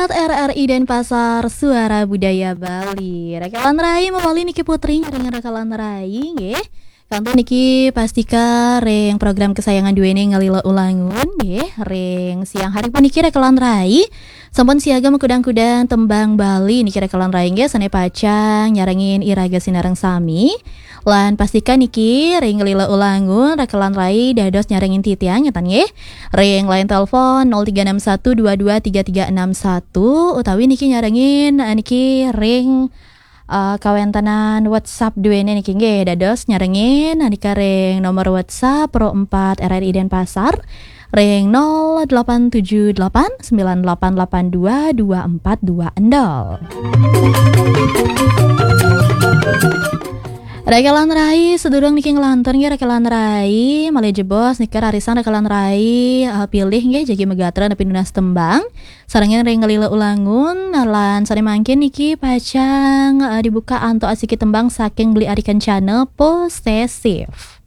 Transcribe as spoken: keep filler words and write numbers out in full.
R R I Denpasar, Suara Budaya Bali. Rekan rai, mawali niki Putri nyarengin rekan rai nggih. Kantun niki pastika ring program kesayangan duene Ngalila Ulangun nggih. Ring siang hari puniki rekan rai sampun siaga makudang-kudang tembang Bali niki rekan rai nggih, sane pacang nyarengin iraga sinareng sami. Lan pastika niki ring Ngalila Ulangun rekan rai dados nyarengin titiang ngeten nggih. Ring line telepon nol tiga enam satu dua dua tiga tiga enam satu utawi niki nyarengin, eh, niki ring, eh, kawentenan WhatsApp duene niki nggih, dados nyarengin, eh, nika ring nomor WhatsApp Pro empat R R I Denpasar ring nol delapan tujuh delapan sembilan delapan delapan dua dua empat dua nol. Rekan rai, sedurung niki nglantur nggih rekan rai, malih jebos nika rarisang rekan rai, eh, pilih nggih jagi megatra napi nunas tembang. Sarengin ring Ngalila Ulangun, lan sane mangkin niki pacang, eh, dibuka antuk asiki tembang saking Beli Ari Kencana, Posesif.